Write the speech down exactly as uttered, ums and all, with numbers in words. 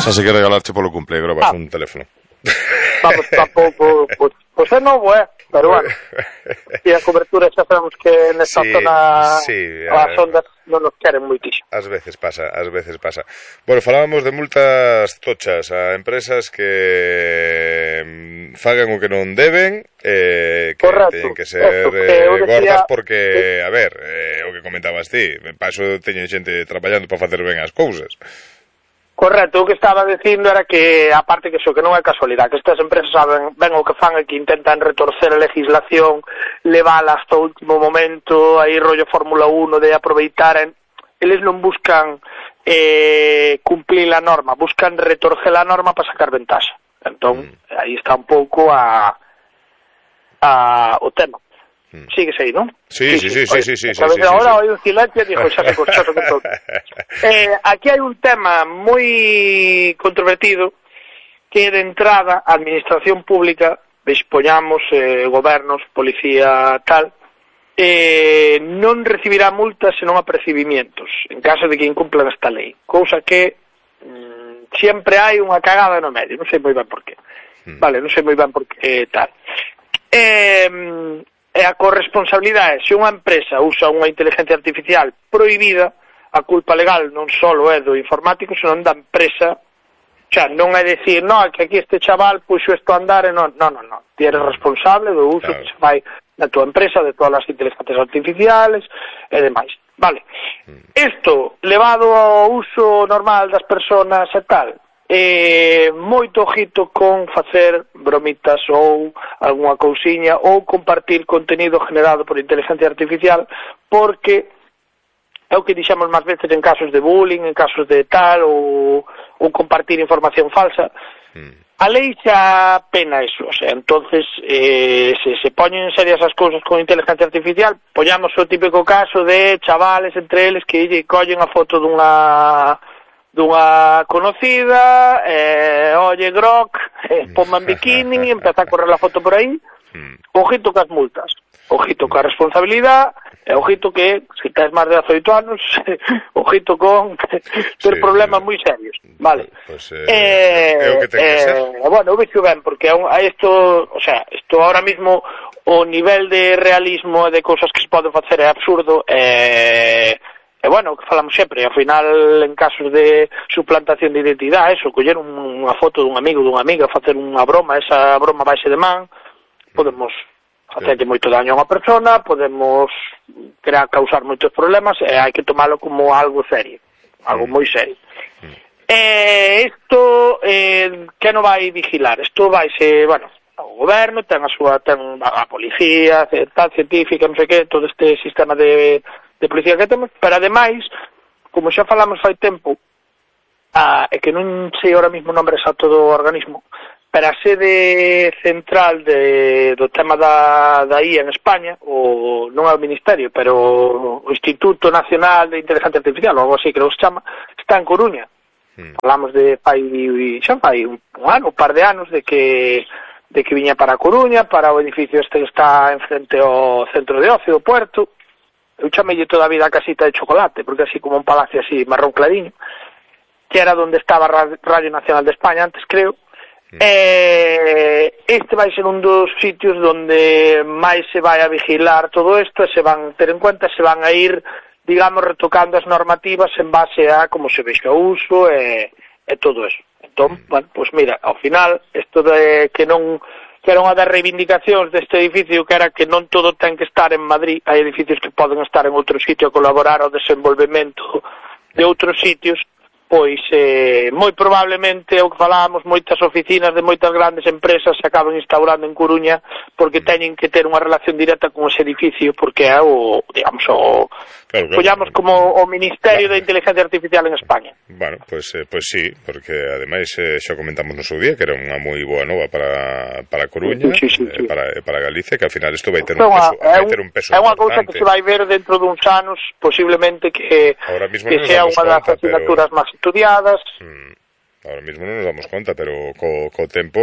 Xa se que regalarche polo cumple, grabas ah. un teléfono. Vamos, tampouco, pois, pois é novo, eh? Pero bueno, e a cobertura xa sabemos que nesta sí, zona sí, as ondas non nos queren moitísimo. Ás veces pasa, ás veces pasa. Bueno, falábamos de multas tochas a empresas que fagan o que non deben, eh, que Correcto. Teñen que ser Eso, que eh, decía, gordas porque, sí. a ver, eh, o que comentabas ti, para iso teñen xente traballando para facer ben as cousas. Correcto, o que estaba dicindo era que, aparte que iso, que non é casualidade, que estas empresas saben ben o que fan e que intentan retorcer a legislación, levala hasta o último momento, aí rollo Fórmula uno de aproveitar, eles non buscan eh, cumplir a norma, buscan retorcer a norma para sacar ventaxa. Entón, mm. aí está un pouco a, a o tema. Mm. Sigues aí, non? Sí, sí, sí, sí, sí, sí, sí, sí, sí, ahora sí. hai un silencio e dixo, xa se cortou todo. Eh, aquí hai un tema moi controvertido que de entrada a administración pública, dispoñamos eh, gobernos, policía, tal, eh, non recibirá multas senón apercibimientos en caso de que incumplan esta lei, cousa que mm, sempre hai unha cagada no medio, non sei moi ben por qué. Mm. Vale, non sei moi ben por qué tal. Eh... E a corresponsabilidade, se unha empresa usa unha inteligencia artificial prohibida, a culpa legal non só é do informático, senón da empresa. Xa, non é dicir, no, que aquí este chaval puxo isto a andar e non, non, non, non. Ti eres responsable do uso claro. Que se fai na tua empresa, de todas as inteligencias artificiales e demais. Vale. Isto, levado ao uso normal das persoas e tal, Eh, moito ojito con facer bromitas ou algunha cousiña ou compartir contenido generado por inteligencia artificial, porque é o que dixemos máis veces en casos de bullying, en casos de tal, ou, ou compartir información falsa. Mm. A lei xa pena eso, o sea, entonces eh, se se poñen serias as cousas con inteligencia artificial, poñamos o típico caso de chavales entre eles que lle collen a foto dunha dunha conocida, eh, oye, grok, eh, ponme en bikini, e empeza a correr a foto por aí. Ojito cas multas, ojito ca responsabilidade, e ojito que, se tens máis de dezoito anos, ojito con ter sí, problemas moi serios, vale? Pues, eh, eh, é o que ten que ser. Eh, bueno, eu vexo ben, porque a isto, o sea, isto ahora mismo, o nivel de realismo e de cousas que se pode facer é absurdo, e... Eh, E bueno, que falamos sempre, ao final en casos de suplantación de identidade, eso, coller unha foto dun amigo, dunha amiga, facer unha broma, esa broma baixe de man, podemos facerlle moito daño a unha persona, podemos crear, causar moitos problemas, e hai que tomalo como algo serio, algo moi serio. E isto, eh, que non vai vigilar? Isto vai ser, bueno, o goberno, ten a súa, ten a policía, tal, científica, non sei que, todo este sistema de... de policía que temos, pero ademais, como xa falamos fai tempo, a, é que non sei ahora mismo o nombre exacto do organismo, pero a sede central de, do tema da, da I A en España, o non é o Ministerio, pero o Instituto Nacional de Inteligencia Artificial, ou algo así que nos chama, está en Coruña. Mm. Falamos de fai, xa fai un, un ano, un par de anos, de que de que viña para a Coruña, para o edificio este que está enfrente ao centro de ocio, do Puerto. Eu chamelle toda a vida a casita de chocolate, porque así como un palacio así marrón clariño, que era donde estaba Radio Nacional de España antes, creo. Mm. Eh, este vai ser un dos sitios donde máis se vai a vigilar todo isto, e se van ter en cuenta, se van a ir, digamos, retocando as normativas en base a como se vexa o uso e, e todo eso. Entón, mm. bueno, pues mira, ao final, isto de que non... que era unha das reivindicacións deste edificio, que era que non todo ten que estar en Madrid, hai edificios que poden estar en outro sitio a colaborar ao desenvolvemento de outros sitios, pois eh, moi probablemente o que falábamos, moitas oficinas de moitas grandes empresas se acaban instaurando en Coruña porque teñen que ter unha relación directa con ese edificio, porque é o, digamos, o claro, claro, collamos como o Ministerio claro. de Inteligencia Artificial en España. Bueno, pois pues, eh, pues sí, porque ademais eh, xa comentamos no seu día que era unha moi boa nova para, para Coruña, sí, sí, sí. Eh, para, para Galicia, que ao final isto vai ter un peso, vai ter un peso é unha cousa que se vai ver dentro duns anos, posiblemente que, que sea unha das asignaturas máis estudiadas. Mm, ahora mismo non nos damos conta, pero co, co tempo